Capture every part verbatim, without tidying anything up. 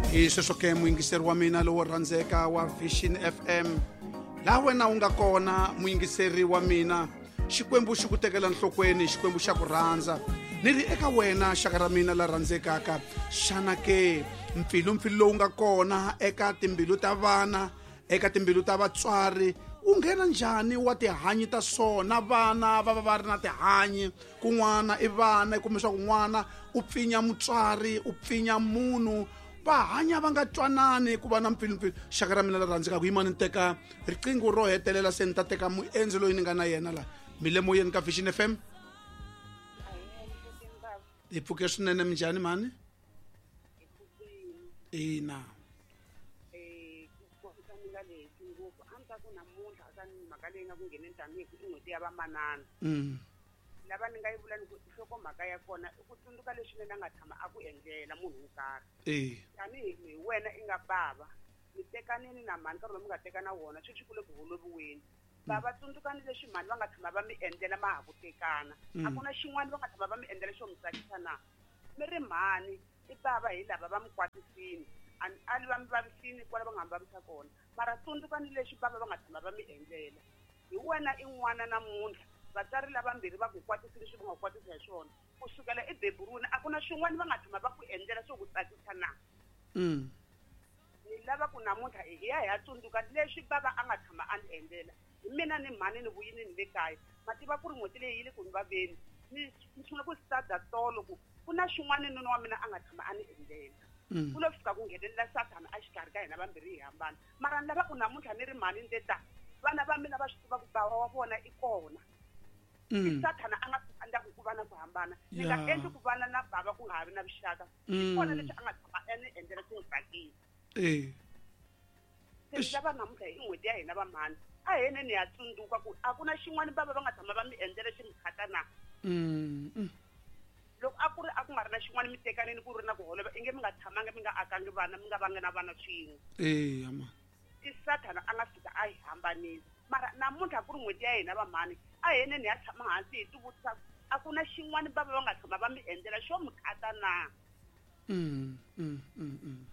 Hi sweswo ke muyingiseri wa mina lowo rhandzeka wa Vision F M, laha wena u nga kona muyingiseri wa mina, Xikwembu xi ku tekela nhlokweni, Xikwembu xa ku rhandza. Ni ri eka wena xaka ra mina la rhandzekaka, xana ke mpfilumpfilu lowu nga kona eka timbilu ta vana, eka timbilu ta vatswari, wu nghena njhani wa tihanyi ta swona? Vana va va va ri na tihanyi, kun'wana i vana, kumbe swa kun'wana u pfinya mutswari, u pfinya munhu, va hanya va nga twanani, ku va na mpfilumpfilu. Xaka ra mina la rhandzekaka, yimani ni teka riqingho ro hetelela, se ni ta teka muendzi loyi ni nga na yena la mi le moyeni ka Vision F M. Hi pfuke swinene, minjhani mhani? Ina. Mm. Lava ni nga yi vula ni ku nhlokomhaka ya kona i ku tsundzuka leswi mina nga tshama a ku endlela munhu wo karhi. Eh. Tanihi hi wena i nga bava, mi tekanini na mhani nkarhi lowu mi nga teka na wona, sweswi ku le ku holoviweni. Bava tsundzukani leswi mhani va nga tshama va mi endlela ma ha ku tekana. A ku na xin'wana va nga tshama va mi endlela xo mi tsakisa na. Mi ri mhani i bava hi lava va mi kwatisini, a ali va mi vavisini kwala va nga mi vavisa kona. Mara tsundzukani leswi bava va nga tshama va mi endlela. Hi wena i n'wana namuntlha, vatswari lavambirhi va ku kwatisile leswi va nga kwatisa hi swona. Ku sukela ebeburiwini a ku na swin'wana va nga tshama va ku endlela swo ku tsakisa na. Mm. Ni lava ku namuntlha hi ya hi ya tsundzuka leswi bava a nga tshama a ni endlela. Hi mina ni mhani ni vuyini ni le kaya. Ma tiva ku ri n'hweti leyi yi le ku ni vaveni. Ni ni sungula ku start tolo ku ku na xin'wana nuna wa mina a nga tshama a ni endlela. Mm. Ku lo fika ku nghenelela Sathana a xikarhi ka hina vambirhi hi hambana. Mara ni lava ku namuntlha ni ri mhani ni te ta, vana va mina va swi tiva ku bava wa vona i kona. Mm. Sathana a nga endla ku va na ku hambana. Ni nga Yeah. endli ku vana na bava ku nga ha vi na vuxaka. Mm. Kona leswi a nga tshama a ni endlela swi n'wi tsakisa. Eh. Se ni lava namuntlha hi n'hweti ya hina va mhani, a hi yeni ni ya tsundzuka ku a ku na xin'wana bava va nga tshama va mi endlela xi mi khata na. Mm. Mm. Loko a ku ri a ku nga ri na xin'wana mi tekanini ku ri na ku holova, inge mi nga tshamangi mi nga akangi vana, mi nga vangi na vana swin'we. Eh, ama. I Sathana a nga fika a hi hambanisa. Mara namuntlha ku ri n'hweti ya hina va mhani, a hi yeni ni ya tshama hansi hi tivutisa a ku na xin'wana bava va nga tshama va mi endlela xo mi khata na. Mm, mm, mm, mm.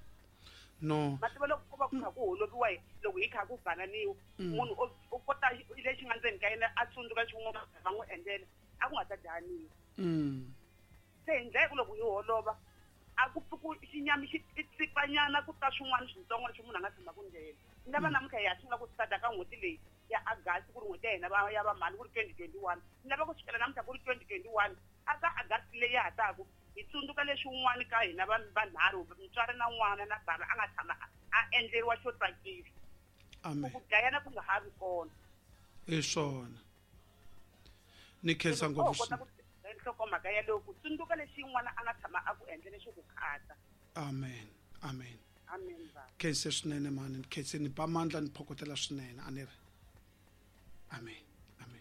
No. Ma tiva loko ku va ku kha ku holoviwa hi, loko hi kha ku bananiwa, Mm. munhu o, o kota lexi nga ndzeni ka yena a tsundzuka xin'wana va n'wi endlela, a ku nga ta dlaniwa. Mm. Se hi ndlela ku loko hi holova, a ku pfuki xinyami xi tsipanyana ku ta swin'wana swintsongo leswi munhu a nga tshama ku ndlela. Ni lava Mm. namuntlha hi ya sungula ku start ka n'hweti leyi ya August ku ri n'hweti ya hina va ya va mhani ku ri twenty twenty-one. Ni lava ku sukela namuntlha ku ri twenty twenty-one, a ka August leyi ya ha taku, hi tsundzuka leswi un'wana ka hina va vanharhu, mutswari na n'wana na bava a nga tshama a endleriwa xo tsakisa. Amen. Ku dlayana ku nga ha vi kona. Hi swona. Ni khensa Loko ngopfu o kota ku nhlokomhaka yaleyo, ku tsundzuka leswi n'wana a nga tshama a ku endlela xo ku khata. Amen. Amen. Amen, baba. Khense swinene mhani, ni khense ni ba mandla ni phokotela swinene, a ni ri. Amen.